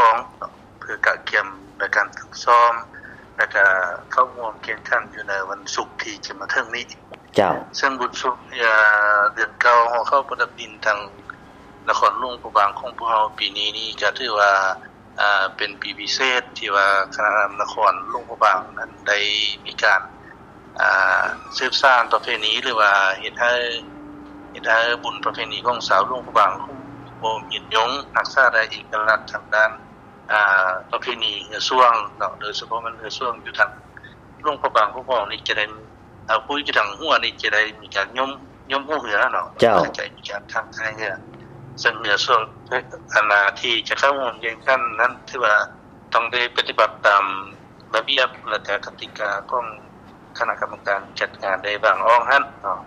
ອງເນາະ ເພື່ອກະກຽມໃນການຝຶກຊ້ອມ ແລະກະເຂົ້າຮ່ວມແຂ່ງຂັນຢູ່ໃນວັນສຸກທີ່ຈະມາເຖິງນີ້. ເຈົ້າ. ເຊິ່ງບຸນສຸກ ເອີ ເດືອນເກົ້າ ເຮົາເຂົ້າປະດັບດິນທາງນະຄອນຫຼວງພະບາງຂອງພວກເຮົາປີນີ້ນີ້ ກະຖືວ່າ ອ່າ ເປັນປີພິເສດທີ່ວ່າຄະນະນຳນະຄອນຫຼວງພະບາງນັ້ນໄດ້ມີການ ອ່າ ສືບສານປະເພນີ ຫຼືວ່າເຮັດໃຫ້ ເຮັດໃຫ້ບຸນປະເພນີຂອງຊາວຫຼວງພະບາງຄົງຢູ່ຄົງ ຮັກສາໄດ້ເອກະລັກທາງດ້ານ ອ່າ ປະເພນີເຮືອຊ່ວງເນາະ ໂດຍສະເພາະແມ່ນເຮືອຊ່ວງຢູ່ທາງຫຼວງພະບາງຂອງພວກເຮົານີ້ຈະໄດ້ ອ່າ ຜູ້ຢູ່ທາງຫົວນີ້ຈະໄດ້ມີການຍົມ ຍົມຫົວເຮືອເນາະ. ເຈົ້າ. ເຂົ້າໃຈມີການທັງທ້າຍເຮືອ ເຊິ່ງເຮືອຊ່ວງ ອັນນາ ທີ່ຈະເຂົ້າຮ່ວມແຂ່ງຂັນນັ້ນ ຖືວ່າຕ້ອງໄດ້ປະຕິບັດຕາມລະບຽບ ແລະກະກະຕິກາຂອງຄະນະກຳມະການຈັດງານໄດ້ວາງອອກຫັ້ນເນາະ.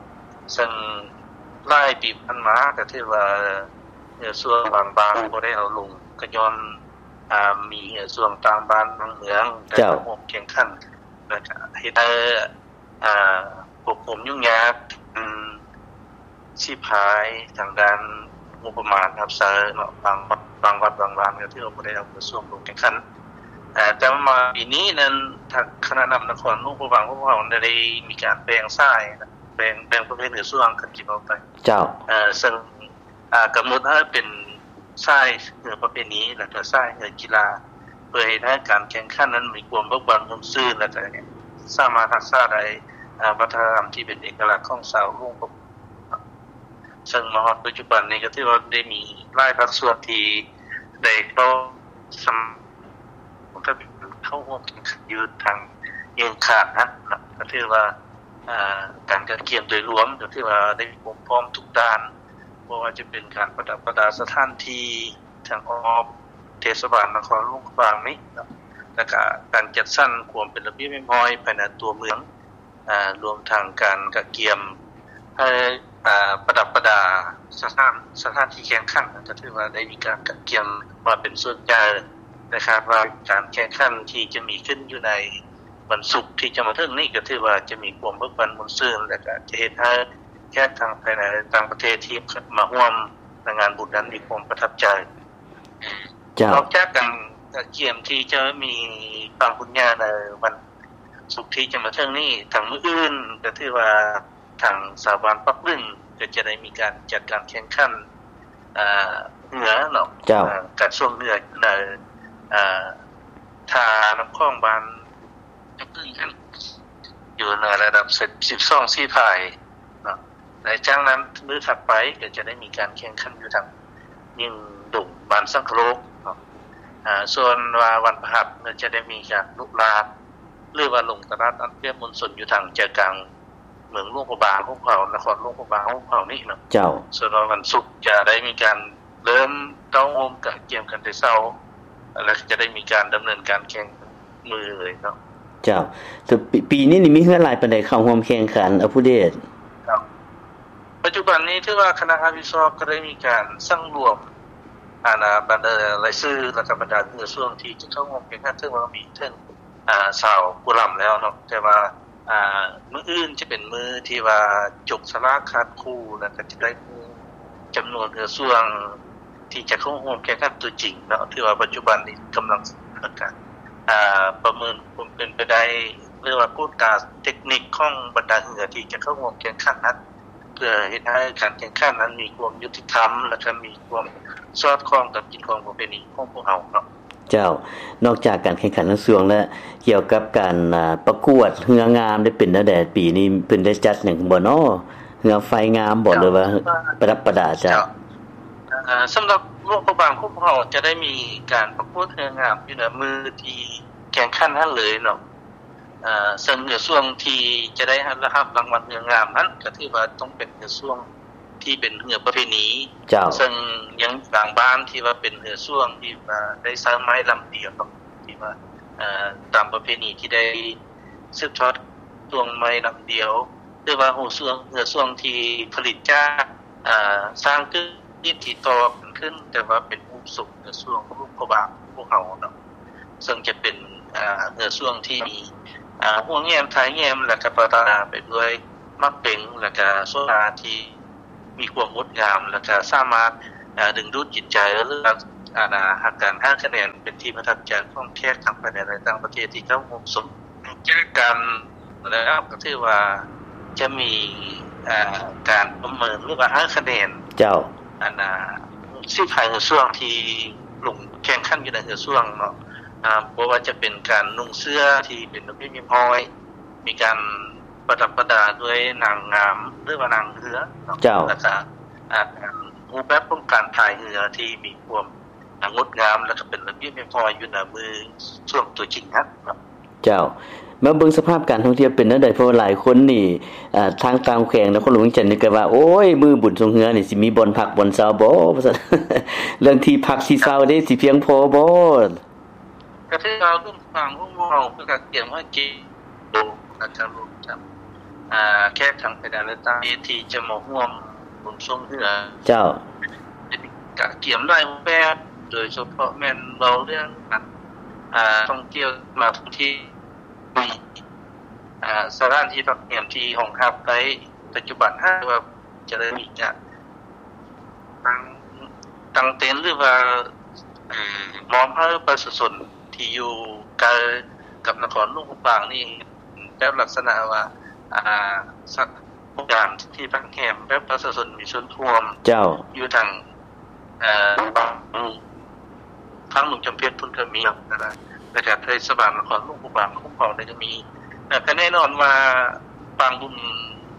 ເຊິ່ງຫຼາຍປີຜ່ານມາກະຖືວ່າເຮືອຊ່ວງບາງບ້ານບໍ່ໄດ້ເອົາລົງ ກະຍ້ອນ ອ່າ ມີເຮືອຊ່ວງຕ່າງບ້ານຕ່າງເມືອງ ເຈົ້າ ໄດ້ເຂົ້າຮ່ວມແຂ່ງຂັນ ແລະກະເຮັດໃຫ້ ອ່າ ຄວາມຫຍຸ້ງຍາກ ອືມ ສີພາຍທາງດ້ານງົບປະມານຮັບໃຊ້ເນາະ ບາງ ບາງວັດບາງວານກະຖືວ່າບໍ່ໄດ້ເອົາເຂົ້າຮ່ວມລົງແຂ່ງຂັນ. ເອີ ແຕ່ມາປີນີ້ນັ້ນ ທາງຄະນະນຳນະຄອນຫຼວງພະບາງຂອງພວກເຮົາໄດ້ມີການແບ່ງສາຍ ແບ່ງ ແບ່ງປະເພດເຮືອຊ່ວງ ຄັນຊິເວົ້າໄປ. ເຈົ້າ. ເອີ ເຊິ່ງ ອ່າ ກຳນົດໃຫ້ເປັນສາຍເຮືອປະເພນີ ແລະກະສາຍເຮືອກິລາ ເພື່ອເຮັດໃຫ້ການແຂ່ງຂັນນັ້ນມີຄວາມເບີກບານມ່ວນຊື່ນ ແລະກະສາມາດຮັກສາໄດ້ ອ່າ ວັດທະນະທຳທີ່ເປັນເອກະລັກຂອງຊາວຫຼວງພະບາງ. ເຊິ່ງມາຮອດປັດຈຸບັນນີ້ກະຖືວ່າໄດ້ມີຫຼາຍພາກສ່ວນທີ່ໄດ້ເຂົ້າສະໝັກ ເຂົ້າຮ່ວມແຂ່ງຂັນຢູ່ທາງເງື້ອງຂານຫັ້ນເນາະ ກະຖືວ່າ ອ່າ ການກະກຽມໂດຍລວມກະຖືວ່າໄດ້ມີຄວາມພ້ອມທຸກດ້ານ ບໍ່ວ່າຈະເປັນການປະດັບປະດາສະຖານທີ່ທາງອ້ອມເທດສະບານນະຄອນຫຼວງພະບາງນີ້ເນາະ ແລະກະການຈັດສັນຄວາມເປັນລະບຽບຮຽບຮ້ອຍພາຍໃນຕົວເມືອງ ອ່າ ລວມທັງການກະກຽມໃຫ້ ອ່າ ປະດັບປະດາສະຖານ ສະຖານທີ່ແຂ່ງຂັນ ກະຖືວ່າໄດ້ມີການກະກຽມມາເປັນສ່ວນໃຫຍ່ ແລະຄາດວ່າການແຂ່ງຂັນທີ່ຈະມີຂຶ້ນຢູ່ໃນວັນສຸກທີ່ຈະມາເຖິງນີ້ ກະຖືວ່າຈະມີຄວາມເບີກບານມ່ວນຊື່ນ ແລະກະຈະເຮັດໃຫ້ແຂກທັງພາຍໃນ ແລະຕ່າງປະເທດທີ່ມາຮ່ວມໃນງານບຸນນັ້ນມີຄວາມປະທັບໃຈ. ເຈົ້າ. ນອກຈາກການກະກຽມທີ່ຈະມີຄວາມບຸນຍາໃນວັນສຸກທີ່ຈະມາເຖິງນີ້ ທັງມື້ອື່ນກະຖືວ່າ ທາງຊາວບ້ານປາກບຶງກະຈະໄດ້ມີການຈັດການແຂ່ງຂັນ ເຮືອເນາະ ເຈົ້າ ການຊ່ວງເຮືອໃນ ທ່ານ້ຳຂອງບ້ານປາກບຶງຫັ້ນ ຢູ່ໃນລະດັບສິບສອງສີພາຍເນາະ ແລະຈາກນັ້ນມື້ຖັດໄປກະຈະໄດ້ມີການແຂ່ງຂັນຢູ່ທາງຍິງດົງບ້ານສັງຄະໂລກເນາະ. ສ່ວນວ່າວັນພະຫັດກະຈະໄດ້ມີການລຸລານ ຫຼືວ່າລົງຕະຫຼາດອັດປຽບມວນຊົນຢູ່ທາງໃຈກາງ ເມືອງຫຼວງພະບາງຂອງເຮົາ ນະຄອນຫຼວງພະບາງຂອງເຮົານີ້ເນາະ ເຈົ້າ. ສ່ວນວ່າວັນສຸກຈະໄດ້ມີການເລີ່ມເຕົ້າໂຮມກະກຽມກັນແຕ່ເຊົ້າ ແລະຈະໄດ້ມີການດຳເນີນການແຂ່ງມື້ເລີຍເນາະ ເຈົ້າ. ແຕ່ປີ ປີນີ້ນີ້ມີເຮືອຫຼາຍປານໃດເຂົ້າຮ່ວມແຂ່ງຂັນ ອາຜູ້ເດດ? ເຈົ້າ. ປັດຈຸບັນນີ້ຖືວ່າຄະນະຮັບຜິດຊອບກະໄດ້ມີການສັງລວມ ອັນນາ ບັນດາລາຍຊື່ ແລະກະບັນດາເຮືອຊ່ວງທີ່ຈະເຂົ້າຮ່ວມແຂ່ງຂັນ ຖືວ່າມີເຖິງ ອ່າ ຊາວກວ່າລຳແລ້ວເນາະ ແຕ່ວ່າ ອ່າ ມື້ອື່ນຈະເປັນມື້ທີ່ວ່າຈົກສະຫຼາກຄາດຄູ່ ແລ້ວກະຈະໄດ້ຮູ້ຈຳນວນເຮືອຊ່ວງທີ່ຈະເຂົ້າຮ່ວມແຂ່ງຂັນຕົວຈິງເນາະ ຖືວ່າປັດຈຸບັນນີ້ກຳລັງ ອ່າ ປະເມີນຄວາມເປັນໄປໄດ້ ຫຼືວ່າກວດກາເຕັກນິກຂອງບັນດາເຮືອທີ່ຈະເຂົ້າຮ່ວມແຂ່ງຂັນນັ້ນ ເພື່ອເຮັດໃຫ້ການແຂ່ງຂັນນັ້ນມີຄວາມຍຸຕິທຳ ແລ້ວກະມີຄວາມສອດຄ່ອງກັບກິດຂອງປະເພນີຂອງພວກເຮົາເນາະ. ເຈົ້າ. ນອກຈາກການແຂ່ງຂັນທັງຊ່ວງແລ້ວ ກ່ຽວກັບການ ອ່າ ປະກວດເຮືອງາມໄດ້ເປັນແນວໃດ? ປີນີ້ເພິ່ນໄດ້ຈັດຫຍັງບໍ່ນໍ? ເຮືອໄຟງາມບໍ່ ເຈົ້າ ຫຼືວ່າປະດັບປະດາ? ເຈົ້າ. ເຈົ້າ. ເອີ ສຳລັບຫຼວງພະບາງຂອງພວກເຮົາຈະໄດ້ມີການປະກວດເຮືອງາມຢູ່ໃນມື້ທີ່ແຂ່ງຂັນຫັ້ນເລີຍເນາະ. ເອີ ເຊິ່ງເຮືອຊ່ວງທີ່ຈະໄດ້ຮັບ ຮັບລາງວັນເຮືອງາມນັ້ນ ກະຖືວ່າຕ້ອງເປັນເຮືອຊ່ວງ ທີ່ເປັນເຮືອປະເພນີ ເຈົ້າ ເຊິ່ງຍັງບາງບ້ານທີ່ວ່າເປັນເຮືອຊ່ວງທີ່ວ່າໄດ້ໃຊ້ໄມ້ລຳດຽວ ທີ່ວ່າ ເອີ ຕາມປະເພນີທີ່ໄດ້ສືບທອດຊ່ວງໄມ້ລຳດຽວ ຫຼືວ່າເຮືອຊ່ວງ ເຮືອຊ່ວງທີ່ຜະລິດຈາກ ເອີ ສ້າງກຶ່ງທີ່ຕໍ່ກັນຂຶ້ນ ແຕ່ວ່າເປັນຮູບຊົງເຮືອຊ່ວງຂອງຫຼວງພະບາງຂອງພວກເຮົາເນາະ ເຊິ່ງຈະເປັນ ເຮືອຊ່ວງທີ່ມີ ຫົວແຫງມທ້າຍແຫງມ ແລະກະປະດັບໄປດ້ວຍໝາກເປັງ ແລະກະໂຊລາທີ່ມີຄວາມງົດງາມ ແລະກະສາມາດດຶງດູດຈິດໃຈ ຫຼືວ່າ ອັນນາ ການໃຫ້ຄະແນນເປັນທີ່ປະທັບໃຈຂອງແຂກທັງພາຍໃນ ແລະ ຕ່າງປະເທດທີ່ເຂົ້າຮ່ວມຊົມ. ຈາກການແລ້ວກໍຖືວ່າຈະມີ ເອີ ການປະເມີນ ຫຼືວ່າໃຫ້ຄະແນນ ເຈົ້າ ອັນນາ ສີພາຍເຮືອຊ່ວງທີ່ລົງແຂ່ງຂັນຢູ່ໃນເຮືອຊ່ວງເນາະ ອາ ບໍ່ວ່າຈະເປັນການນຸ່ງເສື້ອທີ່ເປັນລະບຽບຮຽບຮ້ອຍ ມີການປະດັບປະດາດ້ວຍນາງງາມ ຫຼືວ່ານາງເຮືອເນາະ ເຈົ້າ ແລ້ວກໍ ອາ ການ ຮູບແບບຂອງການພາຍເຮືອທີ່ມີຄວາມ ອ່າ ງົດງາມ ແລະກໍເປັນລະບຽບຮຽບຮ້ອຍຢູ່ໃນມືຊ່ວງຕົວຈິງຫັ້ນເນາະ. ເຈົ້າ ມາເບິ່ງສະພາບການທ່ອງທ່ຽວເປັນແນວໃດ? ເພາະວ່າຫຼາຍຄົນນີ້ ເອີ ທາງຕ່າງແຂວງນະຄອນຫຼວງວຽງຈັນນີ້ກໍວ່າ ໂອ້ຍ ມື້ບຸນຊ່ວງເຮືອນີ້ຊິມີບ່ອນພັກບ່ອນເຊົາບໍ່ ວ່າຊັ້ນ ເລື່ອງທີ່ພັກທີ່ເຊົາເດ້ ຊິພຽງພໍບໍ່? ກໍຖືວ່າຫຼວງພະບາງຂອງເຮົາກໍກຽມໃຫ້ເກ ໂດຍການລວມກັນ ອາ ແຂກທັງພາຍໃນ ແລະ ຕ່າງປະເທດທີ່ຈະມາຮ່ວມບຸນຊ່ວງເຮືອ ເຈົ້າ ກະກຽມຫຼາຍຮູບແບບ ໂດຍສະເພາະແມ່ນເວົ້າເລື່ອງການ ອາ ທ່ອງທ່ຽວ ມາທ່ອງທ່ຽວ ມີ ອາ ສະຖານທີ່ພັກແຮມທີ່ຮອງຮັບໄດ້ ປັດຈຸບັນຫາກວ່າຈະໄດ້ມີການ ຕັ້ງ ຕັ້ງເຕັນ ຫຼືວ່າ ເອີ ມອບໃຫ້ປະຊາຊົນທີ່ຢູ່ໃກ້ກັບນະຄອນຫຼວງພະບາງນີ້ ແບບລັກສະນະວ່າ ອາ ສະ ໂຮງແຮມທີ່ພັກແຮມແບບປະຊາຊົນມີສ່ວນຮ່ວມ ເຈົ້າ ຢູ່ທາງ ເອີ ທາງຫຼວງຈຳເພັດພຸ້ນກໍມີ ແລ້ວກໍເທດສະບານນະຄອນຫຼວງພະບາງຂອງເຮົານີ້ກໍມີ ແລ້ວກໍແນ່ນອນວ່າປາງບຸນ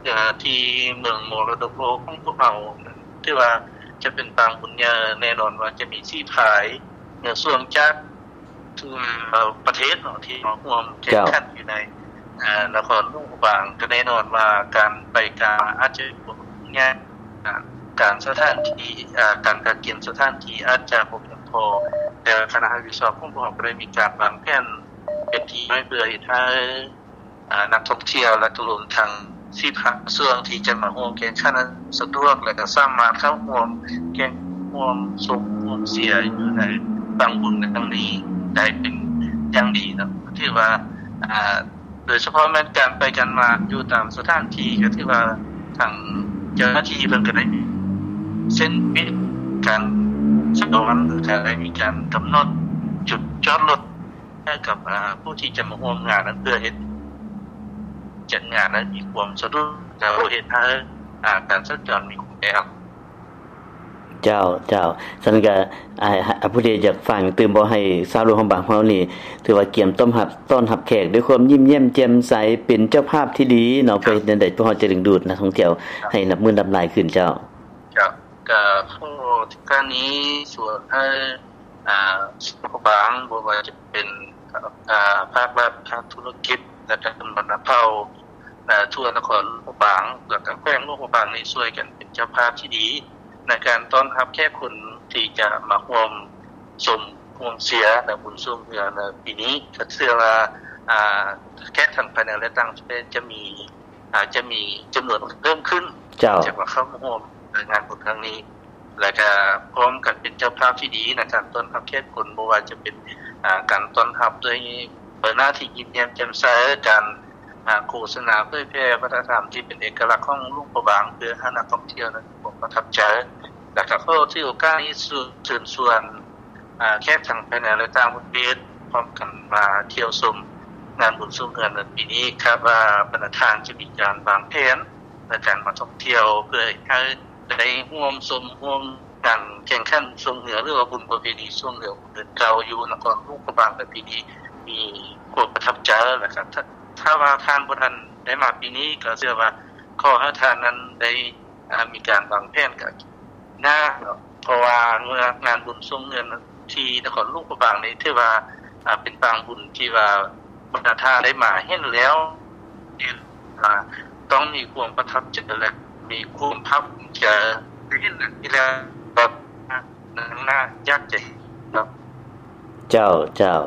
ເອີ ທີ່ເມືອງມໍລະດົກໂລກຂອງພວກເຮົາ ຖືວ່າຈະເປັນປາງບຸນໃຫຍ່ ແນ່ນອນວ່າຈະມີສີພາຍເຮືອຊ່ວງຈາກ ທົ່ວປະເທດເນາະ ທີ່ມາຮ່ວມແຂ່ງຂັນ ເຈົ້າ ຢູ່ໃນ ເອີ ນະຄອນຫຼວງພະບາງ ກໍແນ່ນອນວ່າການໄປການມາອາດຈະຫຍຸ້ງຍາກ ການສະຖານທີ່ ເອີ ການກະກຽມສະຖານທີ່ອາດຈະບໍ່ພຽງພໍ ແຕ່ຄະນະຮັບຜິດຊອບຂອງພວກເຮົາກໍໄດ້ມີການວາງແຜນເປັນທີ່ໄວ້ ເພື່ອເຮັດໃຫ້ ອາ ນັກທ່ອງທ່ຽວ ແລະ ກໍລວມທັງສິບຫ້າສ່ວນທີ່ຈະມາຮ່ວມແຂ່ງຂັນນັ້ນສະດວກ ແລະ ກໍສາມາດເຂົ້າຮ່ວມແຂ່ງ ຮ່ວມຊົມ ຮ່ວມເຊຍຢູ່ໃນປາງບຸນໃນຄັ້ງນີ້ໄດ້ເປັນຢ່າງດີເນາະ. ຖືວ່າ ອາ ໂດຍສະເພາະແມ່ນການໄປການມາຢູ່ຕາມສະຖານທີ່ ກໍຖືວ່າທາງເຈົ້າໜ້າທີ່ເພິ່ນກໍໄດ້ມີເສັ້ນມິດການສັນຈອນ ແລະ ກໍໄດ້ມີການກຳນົດຈຸດຈອດລົດ ໃຫ້ກັບ ອາ ຜູ້ທີ່ຈະມາຮ່ວມງານນັ້ນ ເພື່ອເຮັດຈັດງານນັ້ນມີຄວາມສະດວກ ແລ້ວເຮັດໃຫ້ ອາ ການສັນຈອນມີຄວາມແອອັດ. ເຈົ້າ ເຈົ້າ ຊັ້ນກະ ອາ ອາ ຜູ້ໃດຢາກຝາກຕື່ມບອກໃຫ້ຊາວຫຼວງພະບາງເຮົານີ້ ຖືວ່າກຽມຕ້ອນຮັບ ຕ້ອນຮັບແຂກດ້ວຍຄວາມຍິ້ມແຍ້ມແຈ່ມໃສ ເປັນເຈົ້າພາບທີ່ດີເນາະ ເພື່ອເຮັດແນວໃດພວກເຮົາຈະດຶງດູດນັກທ່ອງທ່ຽວໃຫ້ນັບມື້ນັບຫຼາຍຂຶ້ນ. ເຈົ້າ ເຈົ້າ ກະຂໍໂອກາດນີ້ຊວນໃຫ້ ອາ ຫຼວງພະບາງ ບໍ່ວ່າຈະເປັນ ອາ ພາກລັດ ພາກທຸລະກິດ ແລະ ກະຊົນບັນດາເຜົ່າ ອາ ທົ່ວນະຄອນຫຼວງພະບາງ ແລະ ກະແຂວງຫຼວງພະບາງນີ້ ຊ່ວຍກັນເປັນເຈົ້າພາບທີ່ດີ ໃນການຕ້ອນຮັບແຂກຄົນທີ່ຈະມາຮ່ວມຊົມ ຮ່ວມເຊຍໃນບຸນຊ່ວງເຮືອໃນປີນີ້. ກະເຊື່ອວ່າ ອາ ແຂກທັງພາຍໃນ ແລະ ຕ່າງປະເທດຈະມີ ອາດຈະມີຈຳນວນເພີ່ມຂຶ້ນ ເຈົ້າ ຈາກວ່າເຂົ້າມາຮ່ວມໃນງານບຸນຄັ້ງນີ້ ແລະ ກະພ້ອມກັນເປັນເຈົ້າພາບທີ່ດີໃນການຕ້ອນຮັບແຂກຄົນ ບໍ່ວ່າຈະເປັນ ອາ ການຕ້ອນຮັບດ້ວຍໃບໜ້າທີ່ຍິ້ມແຍ້ມແຈ່ມໃສ ການ ອາ ໂຄສະນາເຜີຍແຜ່ວັດທະນະທຳທີ່ເປັນເອກະລັກຂອງຫຼວງພະບາງ ເພື່ອໃຫ້ນັກທ່ອງທ່ຽວນັ້ນມີຄວາມປະທັບໃຈ. ແລະ ກະຂໍຖືໂອກາດນີ້ເຊີນຊວນ ອາ ແຂກທັງພາຍໃນ ແລະ ຕ່າງປະເທດ ພ້ອມກັນມາທ່ຽວຊົມງານບຸນຊ່ວງເຮືອໃນປີນີ້. ຄາດວ່າບັນດາທ່ານຈະມີການວາງແຜນໃນການມາທ່ອງທ່ຽວ ເພື່ອໃຫ້ໄດ້ຮ່ວມຊົມຮ່ວມງານແຂ່ງຂັນຊ່ວງເຮືອ ຫຼືວ່າບຸນປະເພນີຊ່ວງເຮືອຂອງເດືອນເກົ້າ ຢູ່ນະຄອນຫຼວງພະບາງໃນປີນີ້ ມີຄວາມປະທັບໃຈ. ແລະ ກະ ຖ້າ ຖ້າວ່າທ່ານບໍ່ທັນໄດ້ມາປີນີ້ ກໍເຊື່ອວ່າຂໍໃຫ້ທ່ານນັ້ນໄດ້ ອາ ມີການວາງແຜນກັນໜ້າເນາະ ເພາະວ່າເມື່ອງານບຸນຊ່ວງເຮືອທີ່ນະຄອນຫຼວງພະບາງນີ້ ຖືວ່າ ອາ ເປັນປາງບຸນທີ່ວ່າບັນດາທ່ານໄດ້ມາເຫັນແລ້ວ ທີ່ວ່າຕ້ອງມີຄວາມປະທັບໃຈ ແລະ ມີຄວາມພາກພູມໃຈ ໄດ້ເຫັນອັນນີ້ແລ້ວ ແບບໜ້າຢາກຈະເຫັນເນາະ. ເຈົ້າ ເຈົ້າ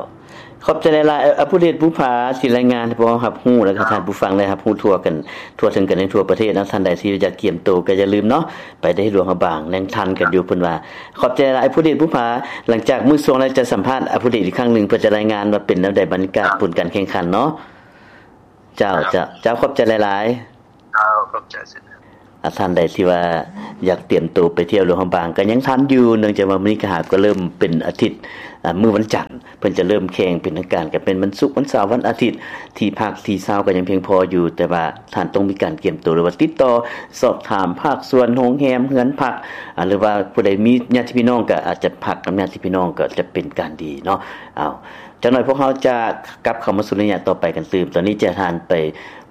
ຂອບໃຈຫຼາຍໆ ອາ ຜູ້ເດດ ພູຜາ ທີ່ລາຍງານໃຫ້ພວກເຮົາຮັບຮູ້ ແລະ ກໍທ່ານຜູ້ຟັງໄດ້ຮັບຮູ້ທົ່ວກັນ ທົ່ວເຖິງກັນໃນທົ່ວປະເທດເນາະ. ທ່ານໃດທີ່ຢາກກຽມໂຕກໍຢ່າລືມເນາະ ໄປໄດ້ຫຼວງພະບາງ ຍັງທັນກັນຢູ່ ເພິ່ນວ່າ. ຂອບໃຈຫຼາຍ ອາ ຜູ້ເດດ ພູຜາ. ຫຼັງຈາກມື້ຊ່ວງແລ້ວຈະສຳພາດ ອາ ຜູ້ເດດອີກຄັ້ງໜຶ່ງ ເພື່ອຈະລາຍງານວ່າເປັນແນວໃດບັນຍາກາດ ອ່າ ຜົນການແຂ່ງຂັນເນາະ. ເຈົ້າ ເຈົ້າ ເຈົ້າ ຂອບໃຈຫຼາຍໆ. ເຈົ້າ ຂອບໃຈເຊັ່ນກັນ. ອາ ທ່ານໃດທີ່ວ່າຢາກຕຽມໂຕໄປທ່ຽວຫຼວງພະບາງກໍຍັງທັນຢູ່ ເນື່ອງຈາກວ່າມື້ນີ້ກໍຫາກໍເລີ່ມເປັນອາທິດ ອາ ມື້ວັນຈັນ ເພິ່ນຈະເລີ່ມແຂ່ງເປັນທາງການ ກໍເປັນວັນສຸກ ວັນເສົາ ວັນອາທິດ ທີ່ພັກທີ່ເຊົາກໍຍັງພຽງພໍຢູ່ ແຕ່ວ່າທ່ານຕ້ອງມີການກຽມໂຕ ຫຼືວ່າຕິດຕໍ່ສອບຖາມພາກສ່ວນໂຮງແຮມ ເຮືອນພັກ ອາ ຫຼືວ່າຜູ້ໃດມີຍາດຕິພີ່ນ້ອງກໍອາດຈະພັກກັບຍາດຕິພີ່ນ້ອງກໍຈະເປັນການດີເນາະ. ເອົາ ຈັກໜ່ອຍພວກເຮົາຈະກັບເຂົ້າມາສູ່ໄລຍະຕໍ່ໄປກັນຕື່ມ. ຕອນນີ້ຈະໃຫ້ທ່ານໄປ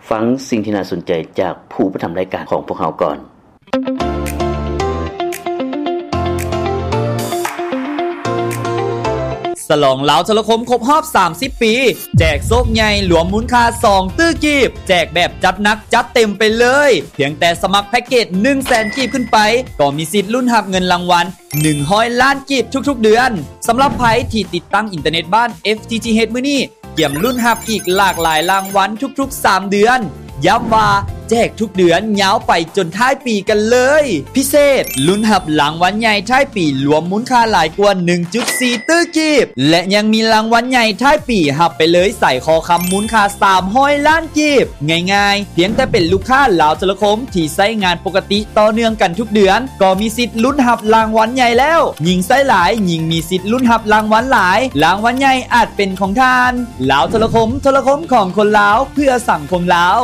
ຟັງສິ່ງທີ່ໜ້າສົນໃຈຈາກຜູ້ອຸປະຖຳລາຍການຂອງພວກເຮົາກ່ອນ. ສະຫຼອງລາວໂທລະຄົມຄົບຮອບສາມສິບປີ ແຈກໂຊກໃຫຍ່ລວມມູນຄ່າສອງຕື້ກີບ ແຈກແບບຈັດໜັກຈັດເຕັມໄປເລີຍ. ພຽງແຕ່ສະໝັກແພັກເກດໜຶ່ງແສນກີບຂຶ້ນໄປ ກໍມີສິດລຸ້ນຮັບເງິນລາງວັນ ໜຶ່ງຮ້ອຍລ້ານກີບທຸກໆເດືອນ. ສຳລັບໃຜທີ່ຕິດຕັ້ງອິນເຕີເນັດບ້ານ FTTH ມື້ນີ້ ກຽມລຸ້ນຮັບອີກຫຼາກຫຼາຍລາງວັນທຸກໆສາມເດືອນ. ຢ້ຳວ່າແຈກທຸກເດືອນຍາວໄປຈົນທ້າຍປີກັນເລີຍ. ພິເສດ, ລຸ້ນຮັບລາງວັນໃຫຍ່ທ້າຍປີລວມມູນຄ່າຫຼາຍກວ່າໜຶ່ງຈຸດສີ່ຕື້ກີບ ແລະ ຍັງມີລາງວັນໃຫຍ່ທ້າຍປີຮັບໄປເລີຍສາຍຄໍຄຳມູນຄ່າສາມຮ້ອຍລ້ານກີບ. ງ່າຍໆ, ພຽງແຕ່ເປັນລູກຄ້າລາວໂທລະຄົມທີ່ໃຊ້ງານປົກກະຕິຕໍ່ເນື່ອງກັນທຸກເດືອນ ກໍມີສິດລຸ້ນຮັບລາງວັນໃຫຍ່ແລ້ວ. ຍິ່ງໃຊ້ຫຼາຍ, ຍິ່ງມີສິດລຸ້ນຮັບລາງວັນຫຼາຍ. ລາງວັນໃຫຍ່ອາດເປັນຂອງທ່ານ. ລາວໂທລະຄົມ, ໂທລະຄົມຂອງຄົນລາວ, ເພື່ອສັງຄົມລາວ.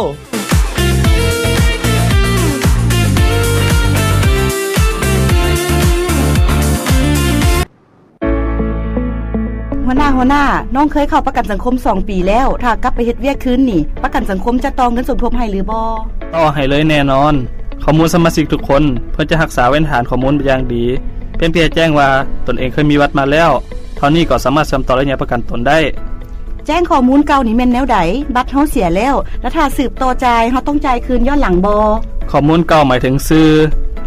ຫົວໜ້າ, ຫົວໜ້າ, ນ້ອງເຄີຍເຂົ້າປະກັນສັງຄົມສອງປີແລ້ວ, ຖ້າກັບໄປເຮັດວຽກຄືນນີ້ ປະກັນສັງຄົມຈະຕໍ່ເງິນສົມທົບໃຫ້ຫຼືບໍ່? ຕໍ່ໃຫ້ເລີຍແນ່ນອນ. ຂໍ້ມູນສະມາຊິກທຸກຄົນ ເພິ່ນຈະຮັກສາເປັນຖານຂໍ້ມູນຢ່າງດີ. ພຽງແຕ່ແຈ້ງວ່າຕົນເອງເຄີຍມີບັດມາແລ້ວ ເທົ່ານີ້ກໍສາມາດເຊື່ອມຕໍ່ໄລຍະປະກັນຕົນໄດ້. ແຈ້ງຂໍ້ມູນເກົ່ານີ້ແມ່ນແນວໃດ? ບັດເຮົາເສຍແລ້ວ ແລະ ຖ້າສືບຕໍ່ຈ່າຍ ເຮົາຕ້ອງຈ່າຍຄືນຍ້ອນຫຼັງບໍ່? ຂໍ້ມູນເກົ່າໝາຍເຖິງຊື່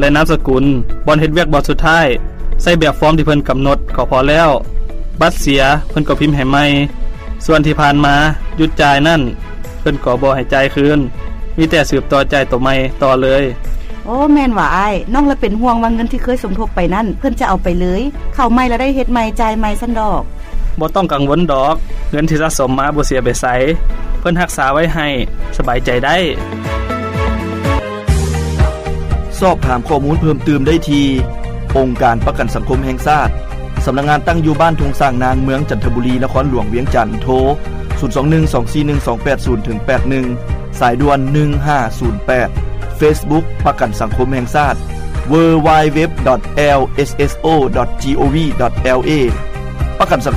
ແລະ ນາມສະກຸນ, ບ່ອນເຮັດວຽກບ່ອນສຸດທ້າຍ, ໃຊ້ແບບຟອມທີ່ເພິ່ນກຳນົດກໍພໍແລ້ວ. ບັດເສຍ ເພິ່ນກໍພິມໃຫ້ໃໝ່. ສ່ວນທີ່ຜ່ານມາຢຸດຈ່າຍນັ້ນ ເພິ່ນກໍບໍ່ໃຫ້ຈ່າຍຄືນ, ມີແຕ່ສືບຕໍ່ຈ່າຍໂຕໃໝ່ຕໍ່ເລີຍ. ໂອ້ ແມ່ນຫວາອ້າຍ, ນ້ອງລະເປັນຫ່ວງວ່າເງິນທີ່ເຄີຍສົມທົບໄປນັ້ນ ເພິ່ນຈະເອົາໄປເລີຍ, ເຂົ້າໃໝ່ລະໄດ້ເຮັດໃໝ່ ຈ່າຍໃໝ່ຊັ້ນດອກ. ບໍ່ຕ້ອງກັງວົນດອກ, ເງິນທີ່ສະສົມມາບໍ່ເສຍໄປໃສ, ເພິ່ນຮັກສາໄວ້ໃຫ້, ສະບາຍໃຈໄດ້. ສອບຖາມຂໍ້ມູນເພີ່ມຕື່ມໄດ້ທີ່ ອົງການປະກັນສັງຄົມແຫ່ງຊາດ, ສຳນັກງານຕັ້ງຢູ່ບ້ານທົ່ງຊ້າງນາງ, ເມືອງຈັນທະບູລີ, ນະຄອນຫຼວງວຽງຈັນ. ໂທ ສູນສອງໜຶ່ງ ສອງສີ່ໜຶ່ງ ສອງແປດສູນ ເຖິງ ແປດໜຶ່ງ, ສາຍດ່ວນ ໜຶ່ງຫ້າສູນແປດ. ເຟສບຸກ ປະກັນສັງຄົມແຫ່ງຊາດ www.lsso.gov.lA. ປະກັນສັງ